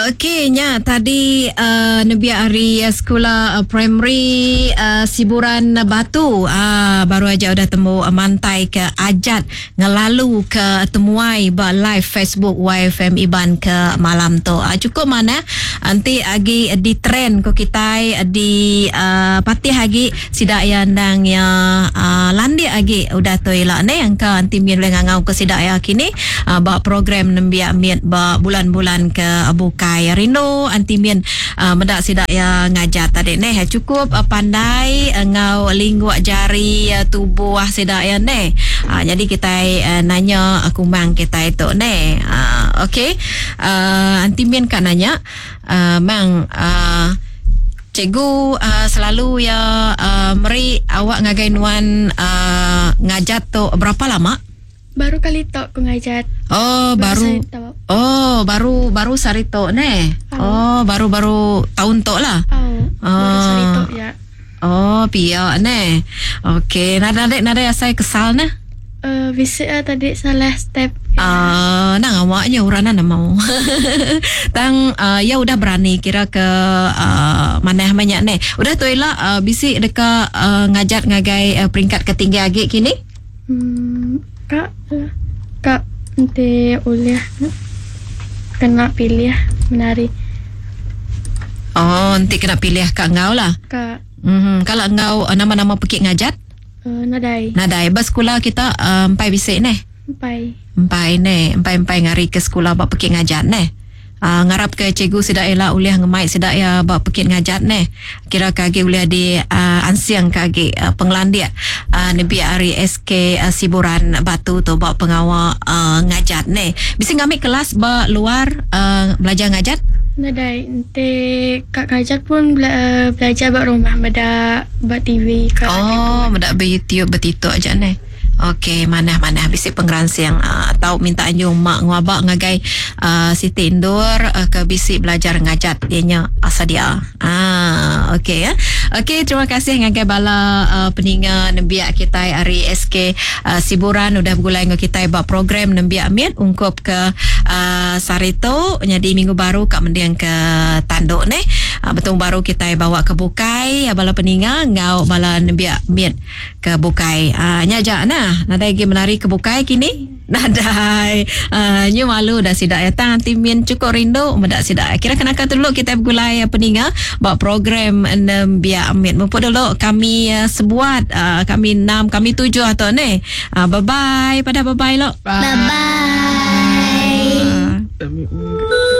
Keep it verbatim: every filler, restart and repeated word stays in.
Okey nya tadi uh, nembiak ari uh, sekula uh, primary uh, Siburan Batu uh, baru aja udah temu uh, mantai ke ajat ngelalu ke temuai ba live Facebook Y F M Iban ke malam tu. Uh, cukup mana nanti agi di trend ko kitai di uh, patih agi sidak ya ndang ya uh, landik agi udah tu ila ne angka anti min boleh ngangau ke sidak ya kini uh, ba program nembiak miet ba bulan-bulan ke bukai. Rindu anti min uh, medak sidak ya ngajar tadi neh cukup uh, pandai uh, ngau lingguk jari uh, tubuh sidak ya neh. Uh, jadi kita uh, nanya uh, kumang kita itu neh. Uh, okey. Uh, anti min kan nanya uh, mang uh, cikgu uh, selalu ya uh, meri awak ngagai nuan uh, ngajat tu berapa lama? Baru kali tok ku ngajat. Oh, baru. baru Oh, baru baru sari tok ne. Oh. Oh, baru-baru tahun tok lah. Oh, baru sari tok ya. Oh, pia ne. Okey, nada nada nada asai kesal ne. Eh, uh, bisa uh, tadi salah step. Ah, uh, nang awaknya urana nak mau. Tang uh, ya udah berani kira ke uh, manah banyak ne. Udah tu ila uh, bisi deka uh, ngajat ngagai uh, peringkat ketinggi agi kini? Hmm. Kak, kak nanti uliah kena pilih menari. Oh, nanti kena pilih kak ngau lah. Kak. Mm-hmm. Kalau ngau nama-nama pekik ngajat? Uh, nadai. Nadai. Ba sekolah kita empai uh, bisik neh. Empai. Empai neh, empai-empai ngari ke sekolah ba pekik ngajat neh. Uh, ngarap ke cikgu sidak ela uliah ngemai sidak ya ba pekit ngajat neh. Kira kagi uliah di uh, ansiang kagi uh, penglandiak uh, nebi ari S K uh, Siburan Batu tu ba pengawa uh, ngajat neh. Bisa ngambil kelas ba luar uh, belajar ngajat? Nadai, nanti kak ngajat pun bela- uh, belajar ba rumah beda ba T V kak. Oh, beda ba YouTube ba TikTok aja neh. Okey, mana-mana bisi pengransiang uh, atau minta anjung mak nguabak ngagai uh, Siti Indur uh, ke bisi belajar ngajat dianya asadia. Ah, okey ya. Okey, terima kasih ngagai bala uh, peninga nembiak kita ari S K uh, Siburan udah bergulai dengan kita ba program nembiak miet ungkup ke uh, Sarito jadi minggu baru kak mending ke Tanduk neh. Uh, betul baru kita bawa ke Bukai bala peninga ngau bala nembiak miet ke Bukai. Ah, uh, nya jak nah. Nadai lagi menari ke Bukai kini? Nadai. Uh, nyu malu dah sidak ya. Tang anti min cukup rindu medak sidak. Kira kenakan dulu kita bergulai peninga buat program nembiak amit. Mumpuk dulu kami uh, sebuat uh, kami enam, kami tujuh atau ne. Uh, bye bye. Pada bye bye lo. Bye. Bye. Bye.